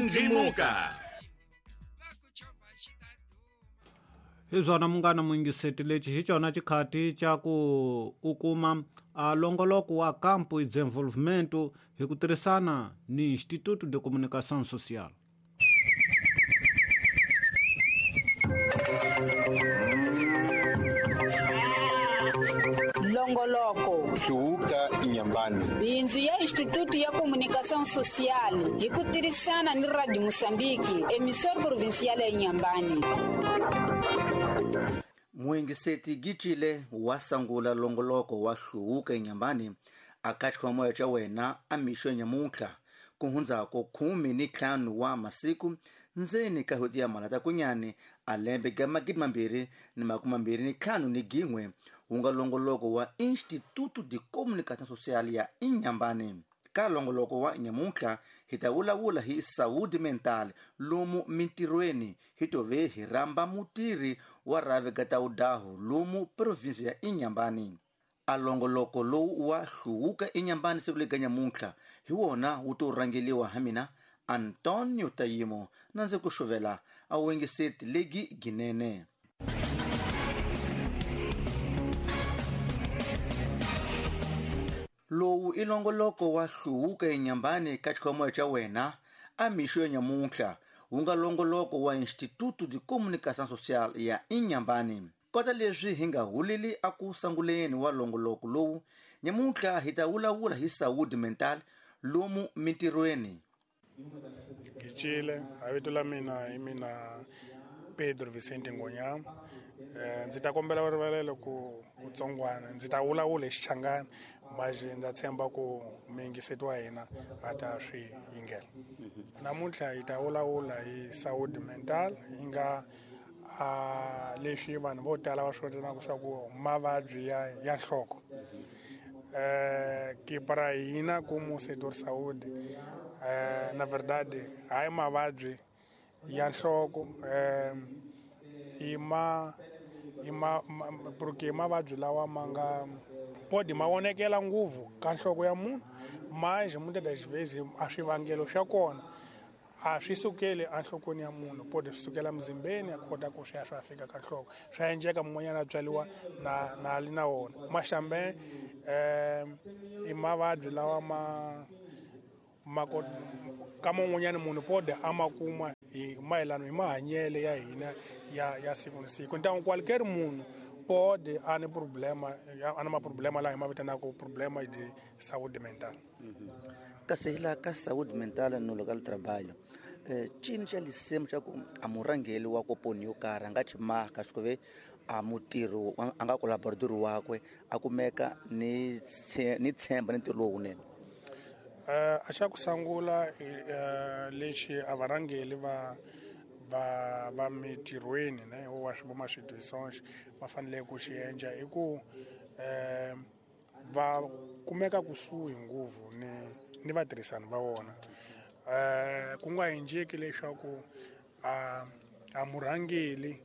Ndlimuka. Hi swona munghana muyingiseti lexi hi xona xikhati xa ku u kuma a longoloko wa Campo e Desenvolvimento hi ku tirhisana ni Instituto de Comunicação Social. Longoloko Hluvuka Inyambani. Bindzu ya Instituto ya Comunicação Social hi ku tirhisana ni Radio Mozambique, emissora provincial ya Inhambane. Muyingiseti Gicile wa sangula longoloko wa Hluvuka Inyambani a ka xikhwamoya xa wena a mixo nyamuntlha ku hundzako 15 wa masiku ndzeni ka hweti ya Mhalatakunyani a lembe ga 2025 wu nga longoloko wa Instituto de Comunicação Social ya Inhambane. Ka longoloko wa nyamuntlha hi ta vulavula hi saúde mental lomu mintirhweni hi tove hi rhamba mutirhi wa rhavi ga tawudaho lomu provinsi ya Inhambane. A longoloko lowu wa Hluvuka Inhambane siku lega nyamuntlha hi wona wu to rhangeliwa ha mina Antonio Tayimo na ndzi ku xuvela a wingiseti legi ginene. Lowu i longoloko wa Hluvuka Inhambane ka xikhwamoya xa wena a mixo ya nyamuntlha wu nga longoloko wa Instituto de Comunicação Social ya Inhambane. Kota leswi hi nga huleli a ku sanguleni wa longoloko lowu nyamuntlha hi ta vulavula hi saúde mental lomu mintirhweni. Gicile, a vito la mina hi mina Pedro Vicente Ngonyama. Ndzi ta kombela rivalelo ku tsongwana ndzi ta vulavula hi Xichangani mas ndza tshemba ku muyingiseti wa hina a ta swi yingela. Namuntlha hi ta vulavula hi saúde mental yi nga a leswi vanhu vo tala va swi vitanaka swa ku mavabyi ya nhloko. Que para hina como setor saúde, na verdade, hayi mavabyi ya nhloko, porque mavabyi lawa ma nga pode ma vonekela ngopfu ka nhloko ya munhu, mas muitas das vezes a swivangelo swa kona a swi sukeli enhlokweni ya munhu, pode swi sukela muzimbeni a kota ku swi ya swi fika ka nhloko. Swa endleka mun'wanyana a tswariwa na li na wona. Mas também i mavabyi lawa ma ka man'wanyana munhu pode a ma kuma hi mayelana hi mahanyelo ya hina ya siku na siku. Então qualquer munhu pode a ni problema, a na maproblema lawa hi ma vitanaka problema de saúde mental. Kasi hi laha ka saúde mental no local trabalho, cini xa lisimo xa ku a murhangeri wa koponi yo karhi a nga xi maka swi ku ve a mutirhi a nga collaborator wakwe a kumeka ni tshemba ni ntirho lowunene. A xa ku sungula lexi a varhangeri va mitirhweni ne wa swi voma swidisonge va fanele ku xi endla i ku va kumeka kusuhi ngopfu ni vatirhisani va vona. Ku nga endleki leswaku a murhangeri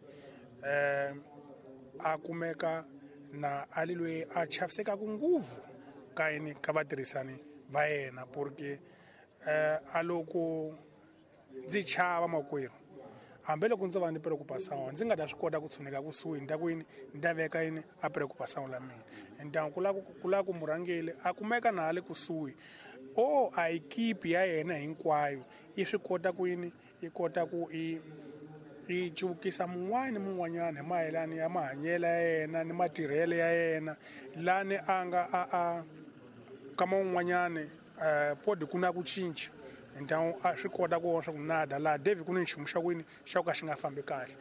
a kumeka na a li loyi a chavisekaka ngopfu ka yini ka vatirhisani va yena, porque a loko ndzi chava makwerhu hambiloko ndzo va ni preocupação ndzi nga ta swi kota ku tshuneka kusuhi ni ta ku yini ni ta veka yini a preocupação la mina. Então ku lava ku murhangeri a kumeka na le kusuhi o a equipe ya yena hinkwayo yi swi kota ku yini yi kota ku i cuvukisa mun'wana ni mun'wanyana hi mayelana ya mahanyelo ya yena ni matirhelo ya yena lani a nga a ka man'wanyana pode ku na ku cinca. Então a swi kota ku vona swa ku nada laha David ku ni nchumu xa ku yini xa ku ka xi nga fambi kahle.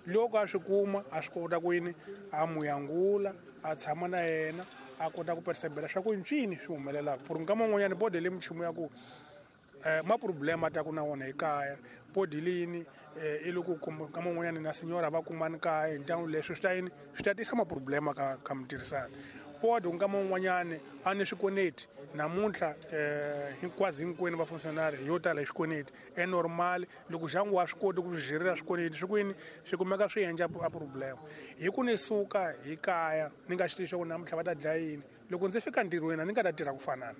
Loko a swi kuma a swi kota ku yini a muyangula a tshama na yena a kota ku percebela swa ku ncini swi humelelaka. Porque nkama wun'wanyana pode le minchumu ya ku ma problema ta ku na wona ekaya pode lini i loko nkama wun'wanyana na senyora va kumani kaya, então leswi swi ta yini swi ta tisa maproblema ka mitirhisano. Pode nkama wun'wanyana a ni swikoneti namuntlha hinkwaswo hinkwenu va functionary yo tala hi swikoneti e normal loko xangu wa swi koti ku swi jirela swikoneti swi kwini swi kumeka swi endla a problema. Hi ku ni suka hi kaya ni nga xi tivi swa ku namuntlha va ta dlaya yini, loko ndzi fika ntirhweni a ni nga ta tirha ku fanana.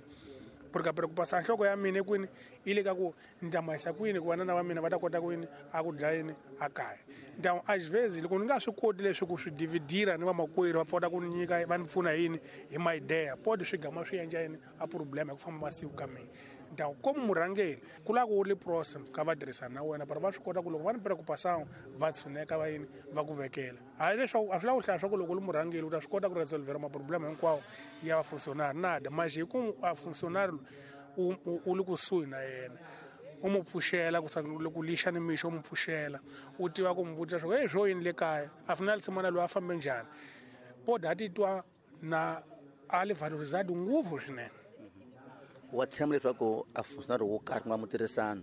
Porque a preocupação nhloko ya mina kwini yi le ka ku ni ta mahisa kwini ku vanana va mina va ta kota kwini a ku dlaya yini a kaya. Então às vezes loko ni nga swi koti leswi ku swi dividira ni vamakwerhu va pfota ku ni nyika va ni pfuna yini hi ma idea pode swi gama swi endla yini a problema hi ku famba masiku ka mina. Então como murhangeri ku lava ku ri próximo ka vatirhisani na wena para va swi kota ku loko va ni preocupação va tshuneka va yini va ku vekela. Hayi leswaku a swi lavi ku hlaya swa ku loko u ri murhangeri u ta swi kota ku resolvera maproblema hinkwawo ya vafunctionary nada mas hi ku a functionary u le kusuhi na yena u mu pfuxela ku loko lixa ni mixo u mu pfuxela u tiva ku mu vutisa swa ku hey swo yini le kaya a final semana loyi a fambe njhani pode a titwa na a li valorizado ngopfu swinene. Wa tshemba leswaku a functionary wo karhi ku nga mutirhisano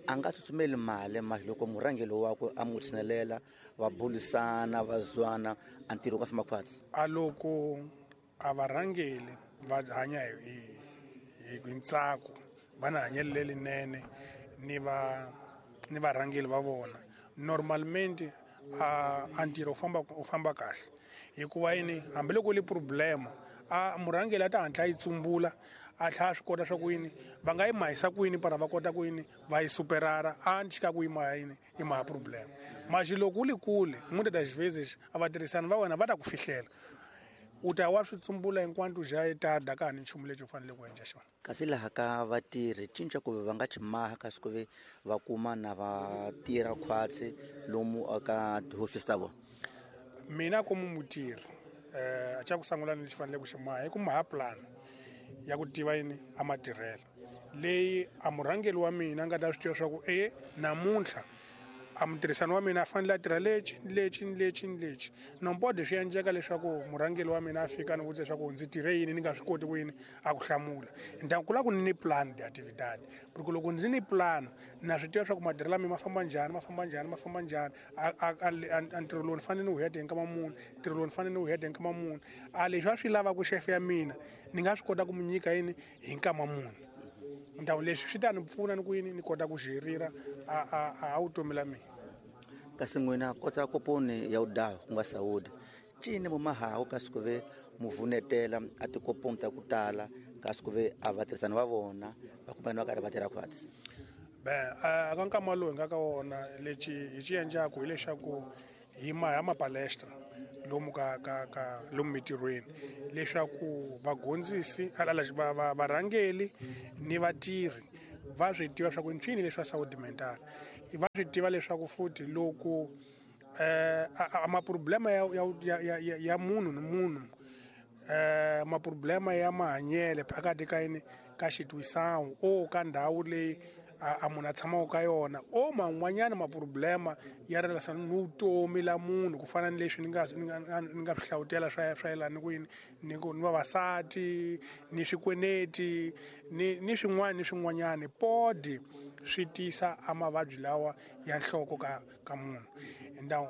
a nga tsutsumeli mali mali loko murhangeri wakwe a n'wi tshinelela va bulisana va zwana a ntirho wu nga famba khwatsi. A loko a varhangeri va hanya hi ntsako va na hanyelo lerinene ni va ni varhangeri va vona normalmente a ntirho u famba kahle hikuva yini hambiloko li problema a murhangeri a ta hatla yi tsumbula a tlhela a swi kota swa ku yini va nga yi mahisa kwini para va kota ku yini va yi superara a ni ku yi maha yini yi maha problema. Mas loko u li kule muitas das vezes a vatirhisani va wena va ta ku fihlela u ta wa swi tsumbula enquanto já é tarde a ka ha ni nchumu lexi u faneleke ku endla xona. Kasi laha ka vatirhi cinca ku va nga chimaha kasi ku ve va kuma na va tirha khwatsi lomu aka tihofisi ta vona. Mina komu mutirhi a xa ku sungula lexi faneleke ku xi maha i ku maha plan ya ku tiva yini a matirhelo leyi a murhangeri wa mina a nga ta swi tiva swa ku e namuntlha a mutirhisani wa mina a fanele a tirha lexi lexi lexi lexi no pode swi endleka leswaku murhangeri wa mina a fika ni vutisa leswaku ndzi tirhe yini ni nga swi koti ku yini a ku hlamula. Então ku lava ku ni ni plan de atividade porque loko ndzi ni plan na swi tiva swa ku matirhelo ya mina ma famba njhani ma famba njhani ma famba njhani a ntirho lowu ni fanele ni wu heta hi nkama muni ntirho lowu ni fanele ni wu heta hi nkama muni a leswi a swi lavaka xefe ya mina ni nga swi kota ku mu nyika yini hi nkama muni. Então leswi swi ta ni pfuna ni ku yini ni kota ku xirira a vutomi la mina. Kasi n'wina kota koponi ya udaha ku nga saúde cini mumahawu kasi ku ve muvunetela a tikoponi ta ku tala kasi ku ve a vatirhisani va vona va kumana va karhi va tirha khwatsi. Ben a ka nkama lowu hi nga ka wona lexi hi xi endlaku hileswaku hi maha mapalestra lomu ka ka ka lomu mitirhweni leswaku vagondzisi varhangeli ni vatirhi va swi tiva swa ku ncini leswi saúde mental va swi tiva leswaku futhi loko maproblema ya munhu ni munhu maproblema ya mahanyelo phakathi ka yini ka xitwisawu o ka ndhawu leyi a munhu a tshamaka ka yona o man'wanyana maproblema ya relasana ni vutomi la munhu ku fana ni leswi ni nga swi hlawutela swa yelana ni ku yini ni ku ni vavasati ni swikweneti ni swin'wana ni swin'wanyana podi swi tisa a mavabyi lawa ya nhloko ka munhu. Então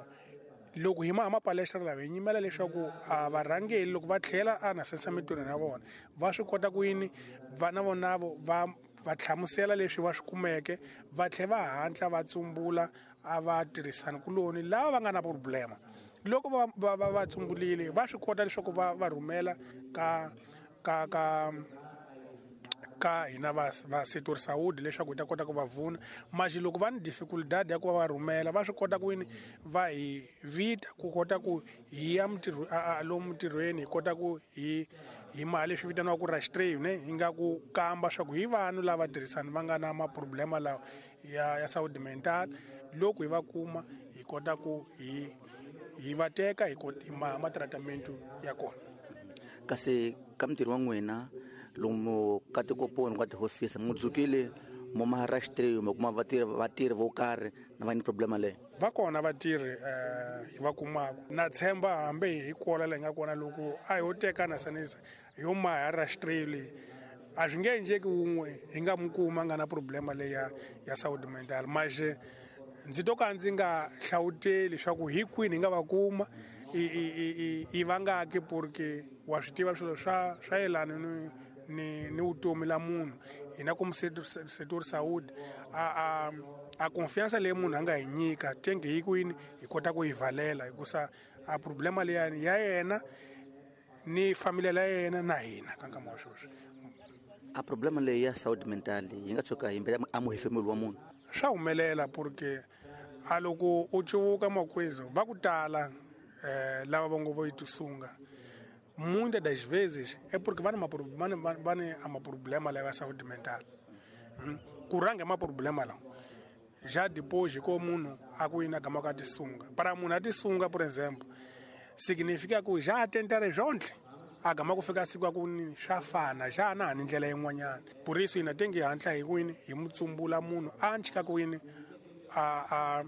loko hi maha mapalestra lawa hi nyimela leswaku a varhangeri loko va tlhela a na sensa mitirhweni ya vona va swi kota ku yini va na vonavo va hlamusela leswi va swi kumeke va tlhela va hatla va tsumbula a va tirhisani kuloni lava va nga na problema loko va tsumbulile va swi kota leswaku va rhumela ka ka ka ka hina va setor saúde leswaku hi ta kota ku va vuna. Mas loko va ni dificuldade ya ku va rhumela va swi kota ku yini va hi vita ku kota ku hi ya lomu ntirhweni hi kota ku hi mali leswi vitaniwaka ku rastreio ne hi nga ku kamba swa ku hi vanhu lava tirhisani va nga na maproblema lawa ya saúde mental loko hi va kuma hi kota ku hi va teka hi maha matratamento ya kona. Kasi ka mintirho wa n'wina lomu ka tikoponi ka tihofisi mu dzukile mo maharashtreyo mo kuma vatirhi vo karhi na va ni problema leyi va kona vatirhi hi va kumaka na tshemba hambi hi kola leyi nga kona loko a ho teka na sanisa yo maharashtreyo leyi a swi nge endleki wun'we hi nga mu kuma nga na problema leyi ya saúde mental. Mas ndzi to ka ndzi nga hlawuteli leswaku hi kwini hi nga va kuma i vangaki porque wa swi tiva swilo swa yelana ni vutomi la munhu hina ku setor saúde a confiança leyi munhu a nga hi nyika tenge hi kwini hi kota ku yi valela hikusa a problema leyani ya yena ni familia la yena na hina ka nkama wa sweswi. A problema leyi ya saúde mental yi nga tshuka yi mbela a muhefemuli wa munhu. Swa humelela porque a loko u cuvuka makwezo va ku tala lava va ngo vo yi tisunga muitas das vezes é porque va ni a maproblema lawa ya saúde mental. Ku rhanga maproblema lawa já depois ko munhu a ku yini a gama ka tisunga. Para munhu a tisunga, por exemplo, significa ku já tentare zvontle a gama ku fika siku ku ni swa fana já na ni ndlela yin'wanyana. Por isso hina tenge hi hatla hi kwini hi mutsumbula munhu a nchika ku yini a a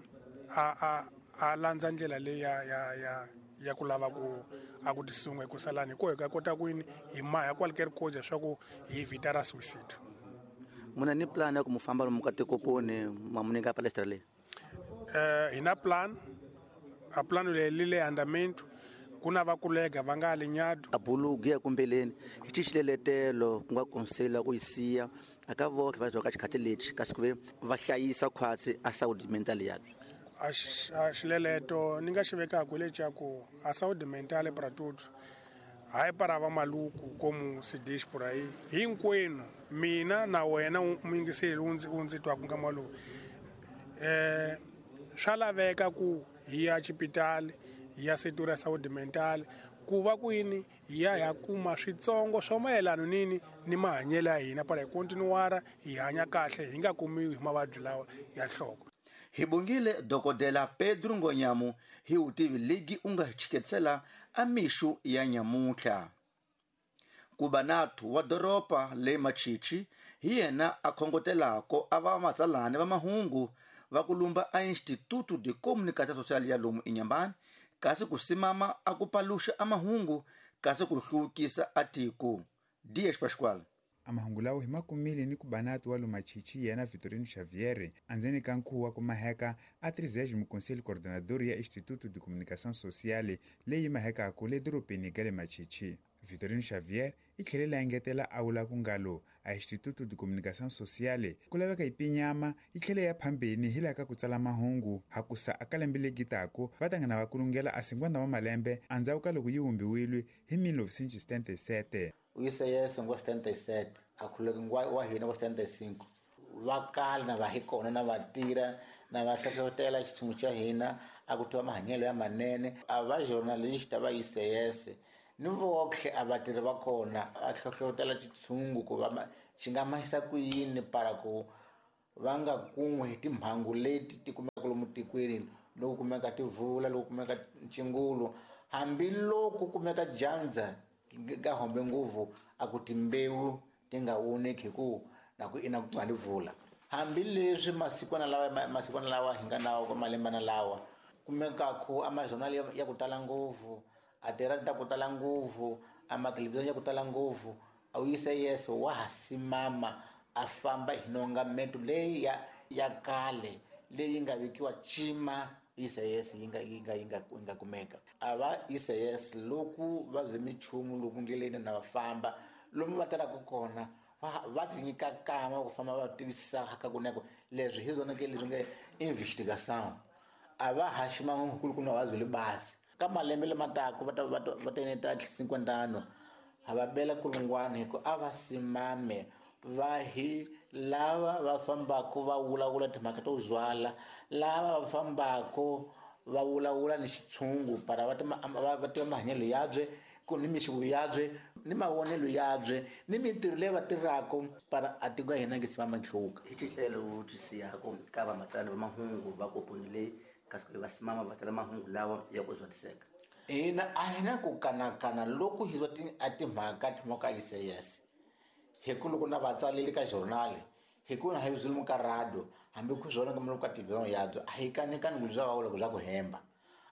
a a landza ndlela leyi ya ku lava ku a ku tisunga hi ku salani ko hi ka kota ku yini hi maha qualquer coisa swa ku hi evitara suicide. Muna ni plan ya ku mufamba lomu ka tikoponi ma muninga palestra leyi? Hi na plan, a plano leyi le andamento ku na va kulega va nga li nyado. A bulugu ya kumbeleni hi xiletelo ku nga konsela ku yi siya aka votlhe va ka xikhati lexi kasi ku ve va hlayisa khwatsi a saúde mental ya. A xileleto ni nga xi vekaka lexa ku a saúde mental para tudo hayi para va maluku como se diz por aí hinkwenu mina na wena muyingiseli u ndzi twaka nkama lowu swa laveka ku hi ya xipitali hi ya setor ya saúde mental ku va ku yini hi ya hi kuma switsongo swa mayelana nini ni mahanyelo ya hina para hi continuara hi hanya kahle hi nga kumiwi hi mavabyi lawa ya nhloko. Hi bongile dokodela Pedro Ngonyamu hi vutivi legi u nga chiketisela a mixu ya nyamuntlha. Kubanatu wa doroba le Machichi hi yena a khongotelako a va matsalani va mahungu va ku lumba a Instituto de Comunicação Social ya lomu Inhambane kasi ku simama a ku paluxa a mahungu kasi ku hluvukisa a tiko. Dias Pascoal. A mahungu lawo hi makumile ni ku banatu wa Lumachichi yena Vitorino Xavier andzeni ka nkhuvo wa ku maheka a 30 Conselho Coordenador ya Instituto de Comunicação Social leyi mahekaka le dorobeni ga le Machichi. Vitorino Xavier i tlhelele a engetela a vula ku ngalo a Instituto de Comunicação Social ku laveka yi pinyama yi tlhele ya phambeni hi laha ka ku tsala mahungu hakusa a ka lembe legi taku va ta nghena va kulungela a 50 wa malembe endzhaku ka loko yi vumbiwile hi 1977. UICS ngo 77 a khuleke wa hina ngo 75 va kala na va hi kona na va tirha na va hlohlotela xitshungu xa hina a ku tiva mahanyelo ya manene a va journalist va ICS ni votlhe a vatirhi va kona a hlohlotela xitshungu ku va xi nga mahisa ku yini para ku va nga kun'we hi timhangu leti ti kumeka lomu tikweni loko kumeka tivula loko kumeka ncingulu hambiloko kumeka dyandza ka hombe nguvu a ku timbewu ti nga voneki hi ku na ku ina ku nga vula hambileswi masikwana lawa hi nga nawo ka malembana lawa kumeka ku a majournal ya ku tala ngopfu a tiradi ta ku tala ngopfu a mathelevhizhoni ya ku tala ngopfu a UICS wa ha simama a famba hi nongameto leyi ya kale leyi nga vekiwa cima ICS yi nga kumeka a va ICS loko va bye minchumu loko ndleleni na va famba lomu va tirhaka kona va ti nyika kama ku famba va tivisisa ka kuneko leswi hi zwona ke leswi nga investigation a va haxi mahungu ku na va byele basi ka malembe lama taka va ta eneta 50 ha va bela kulungwana hi ku a va simame va hi lava va fambaka va vulavula timhaka to zwala lava va fambaka va vulavula ni xitshungu para va tiva mahanyelo yabye ku ni mixiko yabye ni mavonelo yabye ni mintirho leyi va tirhaka para a tiko ya hina nge simama nhluka. Hi xitlelo wu twisiyako ka vamatsali va mahungu va koponi leyi kasi va simama va tsala mahungu lawa ya ku zwatiseka. Hina a hi na ku kanakana loko hi zwa a timhaka timhaka ICS hi ku loko na vatsaleli ka journal hi ku na hi byi ka radio hambi ku swona ka ka TV yabyo a hi kanekani ku bya va vula ku bya ku hemba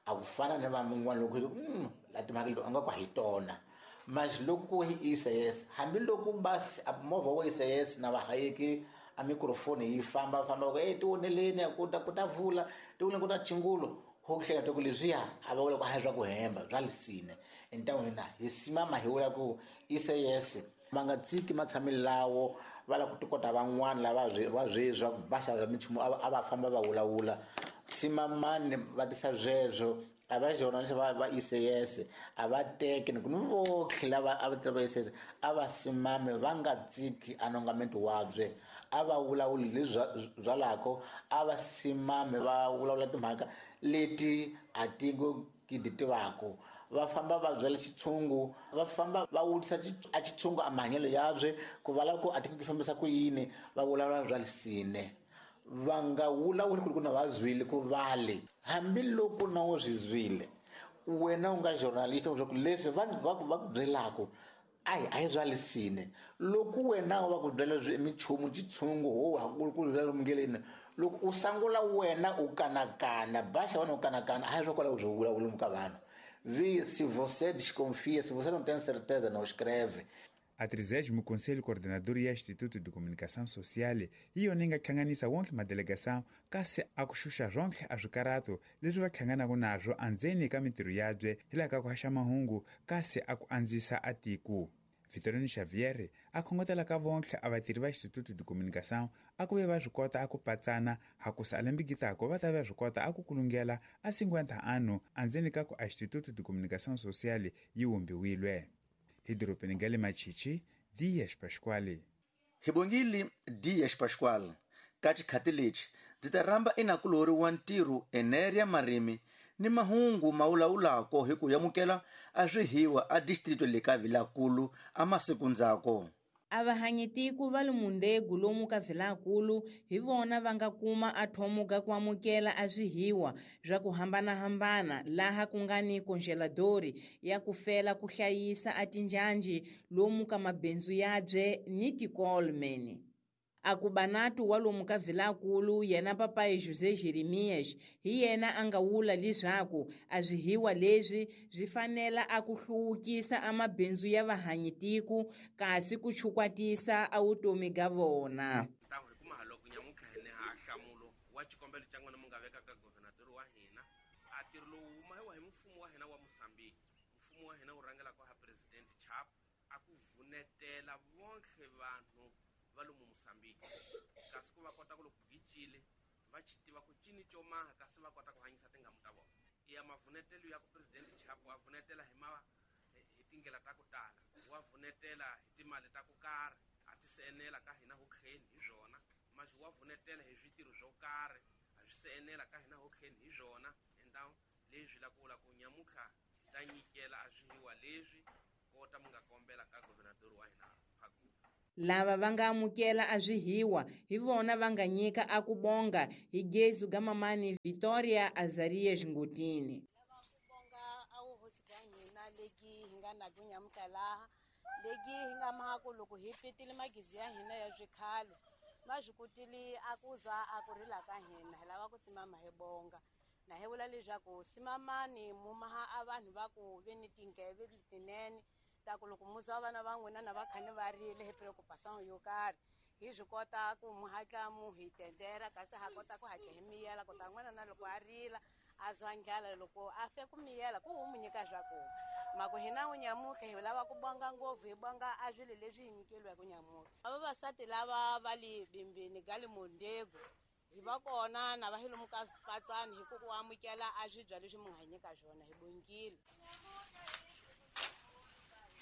a ku fana ni van'wana loko hi la timhaka leti a nga ku hi tona mas loko ku hi ICS hambiloko basi movha wa ICS na vahayeki a microphone yi famba famba ku tioneleni ku ta vula tioneleni ku ta chingulo ho hleka ta ku leswiya a va vula ku a hi swa ku hemba bya lisine entan'wini hina hi simama hi vula ku ICS va nga tsiki matshamelo lawo va lava ku tikota van'wana lava va sweswi va ku va xava minchumu a va famba va vulavula simamani va tisa sweswo A va journalist va ICS a va teke ni ku ni votlhe lava a va tirha va ICS a va simame va nga tsiki anongamento wabye, a va vulavuli leswi byalako, a va simame va vulavula timhaka leti a tiko ki ti tivako. Va famba va byela xitshungu, va famba va vutisa a xitshungu a mahanyelo yabye ku va lava ku a tiko ki fambisa ku yini, va vulavula bya lisine. Va nga vulavuli ku ri ku na va zwile ku vale, hambiloko na wu swi zwile wena u nga journalist leswaku leswi va ku byelaka a hi bya lisine. Loko wena va ku byela minchumu xitshungu ho ha ku byela lomungeleni, loko u sangula wena u kanakana baxa wena u kanakana, a hi swa kwalaho byo vulavula ka vanhu. Vi se você desconfia, se você não tem certeza, não escreve. A 30º Conselho Coordenador ya Instituto de Comunicação Social hi yona yi nga hlanganisa wonke madelegação kasi a ku xuxa swonke a swikarato leswi va hlanganaka naswo andzeni ka mintirho yabye hi laha ka ku haxa mahungu kasi a ku andzisa a tiko. Vitorino Xavier a khongotela ka vonke a vatirhi va Instituto de Comunicação a ku ve va swi kota a ku patsana hakusa a lembikitako va ta va swi kota a ku kulungela a 50 ano andzeni ka ku a Instituto de Comunicação Social yi wumbiwilwe. Hi dorobeni ga le Machichi, Dias Pascoal. Hi bongile Dias Pascoal. Ka xikhati lexi ndzi ta rhamba enakulori wa ntirho Eneria Marimi ni mahungu ma vulavulako hi ku yamukela a swihiwa a distrito le ka Vilakulu a masiku ndzhaku. A va hanyetiku va le Mundegu lomu ka Vilakulu hi vona va nga kuma a thomuka ku amukela a swihiwa swa ku hambanahambana laha ku nga ni congeladori ya ku fela ku hlayisa a tinjhanjhi lomu ka mabindzu yabye ni tikolmeni. A ku banatu wa lomu ka Vilakulu yena papai José Jeremias hi yena a nga wula leswaku a swihiwa leswi swi fanela a ku hluvukisa a mabindzu ya vahanyitiku kasi ku chukwatisa a vutomi ga vona. Hi nhlamulo wa xikombelo xa n'wina mi nga vekaka governador wa hina a ntirho lowu wu mahiwa hi mfumo wa hina wa Mozambique. Mfumo wa hina wu rhangelaka ha President Chap a ku vunetela vonke vanhu va lomu Mozambique kasi ku va kota ku loko gicile va xi tiva ku cini xo maha kasi va kota ku hanyisa tingamu ta vona. Ya mavunetelo ya ku President Chap wa vunetela hi hi tindlela ta ku tala, wa vunetela hi timali ta ku karhi a ti se enela ka hina ho tlheni hi swona, masi wa vunetela hi switirho swo karhi a swi se enela ka hina ho tlheni hi swona. Enda leswi la ku vula ku nyamutlha hi ta nyikela a swihiwa leswi kota mi nga kombela ka governador wa hina Phakula. Lava va nga amukela a swihiwa hi vona va nga nyika a ku bonga hi gezu ga mamani Victoria Azarias Ngutini. Lava ku bonga a wu hosi ga hina leki hi nga na ku nyamutlha laha leki hi nga maku loko hi petile magizi ya hina ya swikhale ma swi kotile a ku za a ku rila ka hina. Hi lava ku simama hi bonga na hi vula leswaku simamani mu maha a vanhu va ku ve ni tinkeve letinene ta ku loko muzi wa vana va n'wina na va kha ni va rile hi preocupação yo karhi hi swi kota ku mu hatla mu hi tendera kasi ha kota ku hatla hi miyela ku ta n'wana na loko a rila a zwa ndlala loko a fe ku miyela ku wu mu nyika swakudya. Mako hina wu nyamutlha hi lava ku bonga ngopfu hi bonga a swilo leswi hi nyikeliweke nyamutlha. A vavasati lava va le bimbini ga le Mondego hi va kona na va hi lomu ka patsani hi ku amukela a swibya leswi mu nga hi nyika swona hi bongile.